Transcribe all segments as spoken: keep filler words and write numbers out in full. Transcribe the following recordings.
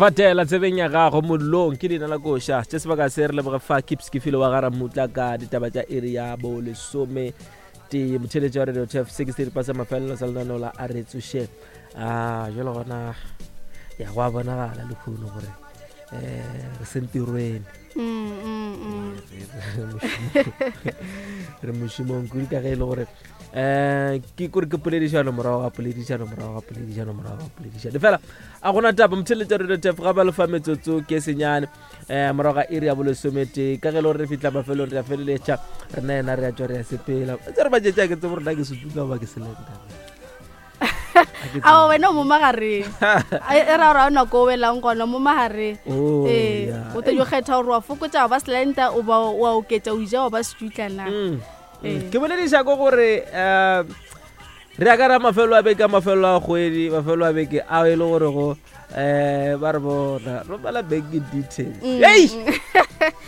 Fatela tsebeng ya gago mollong ke leina la koša tše sebaka se re leboge fa kips ke file wa gara mmutla ka ditaba tša iri ya bo lesome tee motheletši wa radio tf se ke seripa sa mafelelo sa lenaneo la a re tsošeng a jalo gona ya go a bonagala lekgono gore um re sentirweni Mm, mm, mm. re mošomong kudu ka ge e le gore um ke kore ke poledišano morago ga poledišano morago ga poledišano morago ga poledišano fela a gona taba motheletša radio tf ga ba lefa metsotso ke senyane um morago ga iri ya bolesometee ka ge e le gore re fitlha mafelong re a feleletša rena yena re a tswa re a sepela tse re batšetša ke tsebo rena ke setutla goba ke selenta Ao wena o mo magareng. E e ra gore ga o nako o welang gona mo magareng. Oh, Ee, yeah. o tlo jo kgetha gore wa fokotša wa ba slender o ba wa oketša o ija wa ba setutla na. Mm, mm. Ee. ke bolediša ko gore um re ya ka ra mafelo a beke a mafelo a kgwedi mafelo a beke ao e le gore go um ba re bona romela banking details Mm. ei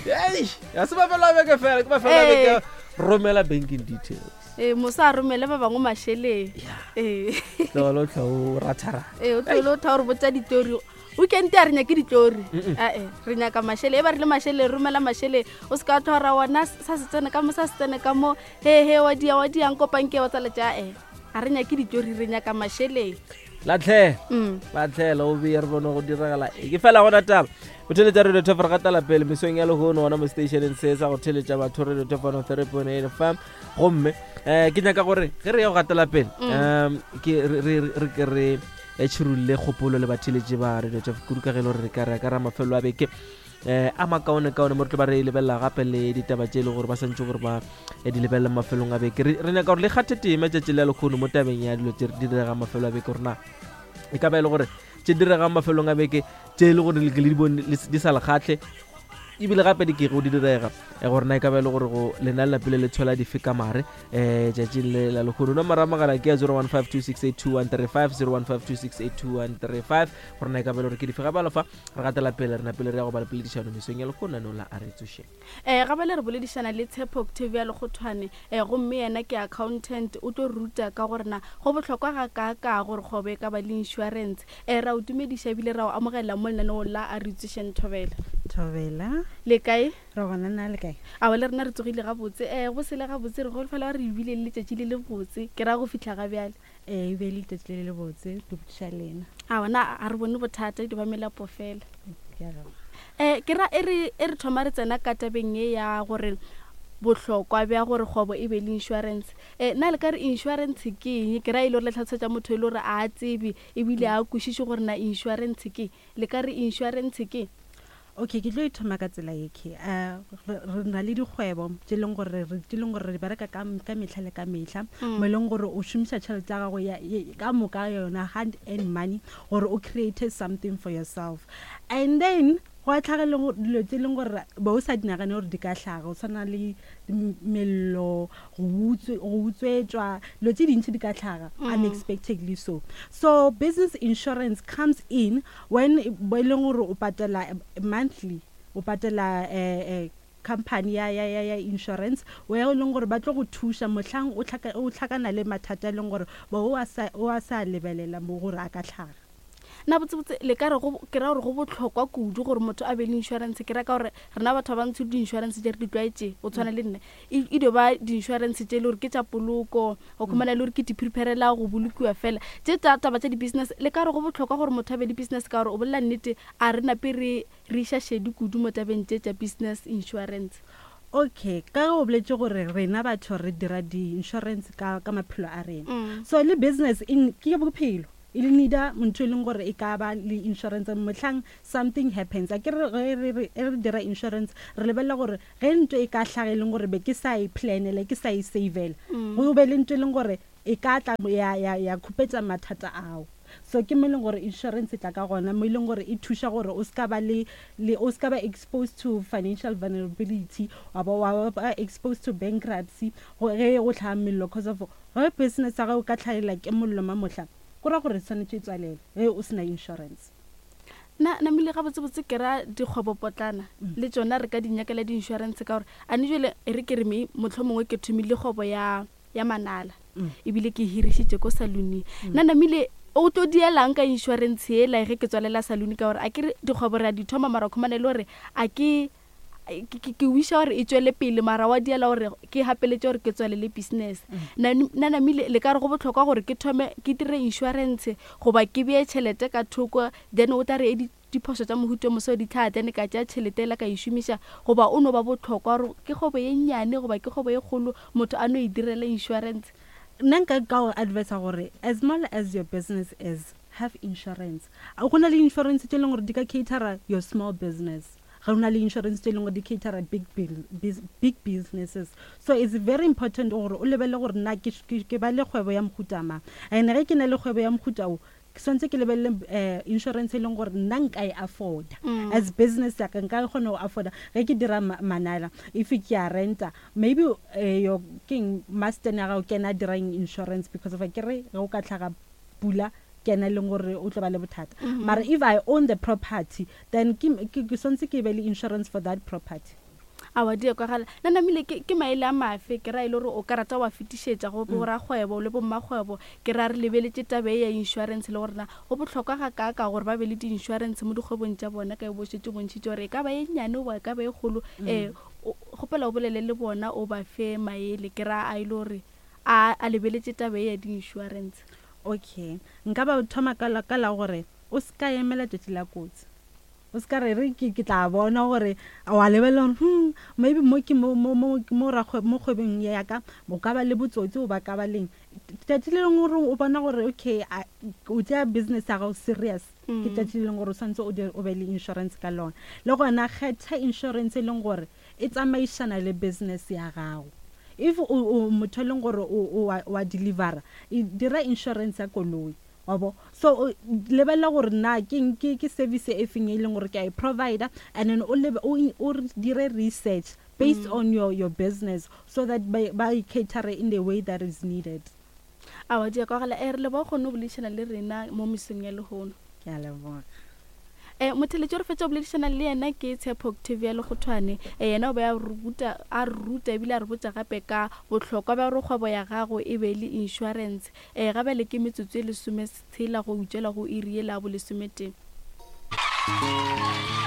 ei ga se mafelo a beke fela ke mafelo a beke Ee. romela banking details Ee, mosa a romele ba bangwe mašeleng. Ee. tlogelo tlha o ratharata Ee, o tlohele o tha gore botsa ditori. Weekend a re nyake ditori. Ae, re nyaka mašeleng. E ba re le mašeleng, romela mašeleng. O se ka tla ra wona sa se tsene ka mo sa se tsene ka mo. He he wa dia wa diang kopang ke wa tsaletša ae. A re nyake ditori, re nyaka mašeleng. latlhela Mm. latlhela o beye re bone go diragala e ke fela gona taba botheletša radio top re gatela pele mesong ya lehono gona mo stationeng se sa go theletša batho radio top one three point eight fm gomme um ke nyaka gore ge re ya go gatela pele um ke re re- re ke re eh, tšhirulle kgopolo le batheletši ba radio top kudu ka ge e le gore re ka re ka ra mafelo a beke um a makaonekaone mo re tlo ba re lebelela gape le ditaba tše e le gore ba santse gore ba eh, di lebelela mafelong a beke re re nyaka gore le kgathe tema tšatši la lekgono mo tabeng ya dilo tše di diregang mafelo a beke gore na e ka ba e le gore tše diregang mafelong a beke tše e le gore le ke le di bone le s- di sa le kgatlhe ebile gape di kego di direga eh, gore na e ka ba e le gore go lena le lapile le tshola dife ka mare um tšatšing le la lekgono nomoro ya mogala ke ya zero one five two six eight two one three five zero one five two six eight two one three five gore na e ka ba e le gore ke dife gape alofa re gatela pele re napele re ya go ba le poledišano mesong ya lekgono nano la a re tsošeng Eh ga bale re boledišana le Tshepo Octavia Lekgothwane eh gomme yena ke accountant o tlo re ruta ka gore na go bohlokwa ga kaakaa gore kgwebo e ka ba le insurance. Eh ra o dumediša ebile ra o amogela mo lenaneong la a re tsošeng Thobela. Thobela Le kae? re gona na le kae Aowa le rena re tsogile gabotse. Eh go sele gabotse re golofela gore re bile le letšatši le le botse ke ra go fihla ga bjale. ee e be le letšatši le le botse ke botšiša lena Aowa na a re bone bothata di ba melapo fela. Ke a leboga. Eh ke ra e re e re thoma re tsena ka tabeng ye ya gore bohlokwa bja gore kgwebo e be le insurance. Eh na le ka re insurance ke eng? Ke ra e le gore le tlhalosetša motho e le gore a tsebe ebile a kwešiše gore na insurance ke eng. Le ka re insurance ke eng? Okay ke tlo e thoma ka tsela ye ke uh, re re na le dikgwebo tše leng gore re tše leng gore re bereka ka ka mehla le ka mehla Mm. mo e leng gore o šomiša tšhelete ya gago ya ye- ka moka yona hand and money gore o create something for yourself and then go a tlhaga le go- dilo tse leng gore be o sa di nagane gore di ka hlaga go tshwana le m- mello go utswe- go utswetšwa dilo tse dintši di ka tlhaga Mm. unexpectedly so so business insurance comes in when e bo e leng gore o patela eh, monthly o patela eh, eh, company ya, ya, ya, ya insurance o e leng gore ba tlo go thuša mohlang o tlhaka- o tlhakana le mathata a leng gore bo o a sa o a sa lebelela mo gore a ka tlhaga Na botsebotse le ka re go ke ra gore go bohlokwa kudu gore motho a be le insurance ke ra ka gore rena batho ba bantsho di-insurance tše re di tlwaetše go tshwana le nna e e dio ba di-insurance tše e le gore ke tša poloko go khumana le gore ke di-preparela go bolokiwa fela tše tša taba tša di-business le ka re go bohlokwa gore motho a be le business ka gore o bolela nnete a re nape re re iša šedi kudu mo tabeng tše tša business insurance. Okay ka ge o boletse gore rena batho re dira di-insurance ka, ka maphelo a rena Mm. so le business in ke bophelo e le needa ntho e leng gore e ka ba le insurance mohlang something happens a ke re ge re re re dira insurance re lebelela gore ge ntho e ka hlaga e leng gore be ke sa e planela ke sa e savela Mm. go be le ntho e leng gore e ka tla ya ya ya khupetša mathata ao so ke mo e leng gore insurance e tla ka gona mo e leng gore e thuša gore o ska ba le le o ska ba exposed to financial vulnerability wa ba wa ba exposed to bankruptcy go ge go tlhaga mello cause of ge business ya gago ka tlhaela ke mollo mamohla go ra gore e tshwanetse e tswalele ge o sena insurance Na namile gabotsebotse ke ra dikgwebopotlana le tšona re ka di nyakela di-insurance ka gore a ne jwale e re ke re me mohlomongwe ke thomile kgwebo ya ya manala Mm. ebile ke hirišitše ko salooning. Nna namile O tlo dielang ka insurance ela ge ke tswalela saloon, ka gore a ke re dikgwebo re a di thoma, mara khumane le gore a ke ke wiša gore e tswele pele, mara wa diela gore ke gapeletše gore ke tswalele business. Na namile le ka re go botlhokwa gore ke thome ke dire insurance goba ke bee tšhelete ka thoko, then o tla re e diphoso tša mohuto moso di tlhaa, then ka tšea tšhelete ela ka e šomiša, goba o no ba botlhokwa gore ke kgwebo ye nnyane goba ke kgwebo ye kgolo motho a no e direla insurance? Nna nka ka go advisa gore as small as your business is, have insurance. Go na le insurance tše e leng gore di ka catera your small business, ga na le insurance tše e leng gore di catera big, big businesses. So it's very important gore o lebelele gore nna ke ba le kgwebo ya mohuta mang, and ge ke na le kgwebo ya mohuta o, ke swantse ke lebelele um insurance e leng gore nna nka e afforda as business ya ka, nka kgona go afforda ge ke dira manala. If ke a renta, maybe uh, your keng master ya gago ke ena a dirang insurance, because of ke re ge o ka tlhaga pula, ke ena e leng gore o tlo ba le bothata. Mara if I own the property, then ke swantse ke be le insurance for that property. Awa, di kwagala. Nna namile ke maele a mafe ke ra e le gore o ka rata wa fetišetša go borakgwebo le bommakgwebo, ke ra re lebeletše tabe ya insurance le gorena go botlhokwa ga kaaka gore ba be le di-insurance mo dikgwebong tša bona, ka e bošetse bontšhitše gore e ka ba e nnyane goba e ka ba e kgolo? um kgopela o bolele le bona, o ba fe maele ke ra a e le gore a a lebeletše tabe ya di-insurance. Okay, nka ba thoma ka la gore o se ka emela tšatši la kotsi. O se ka re re ke tla bona gore wa lebelela gore hmm maybe mo ke mo mo mo mo mo kgwebong ya ka o ka ba le botsotsi o ba ka ba leng. Tšatši le lengwe gore o bona gore okay, o tšea business ya gago serious, ke tšatši le leng gore o santse o o be le insurance ka lona. Le gona kgetha insurance e leng gore e tsamaišana le business ya gago. If o motho e leng gore o wa delivera, dira insurance ya koloi wa bo. So lebelela gore na ke ke ke service e feng e leng gore ke a e provider, and then o lebe o dire research based mm. on your your business so that ba ba cater in the way that is needed. Awa, di kwagala. E re le ba kgone go boledišana le rena mo mesong ya lehono. Ke a leboga. Um motheletši re fetša go boledišana le yena ke Tshepo Octavia Lekgothwane. um yena o be a ruta a re ruta ebile a re botša gape ka bohlokwa bja gore kgwebo ya gago e be le insurance. um gabele ke metsotso e lesometshela go utswela go iri ye la bolesometee.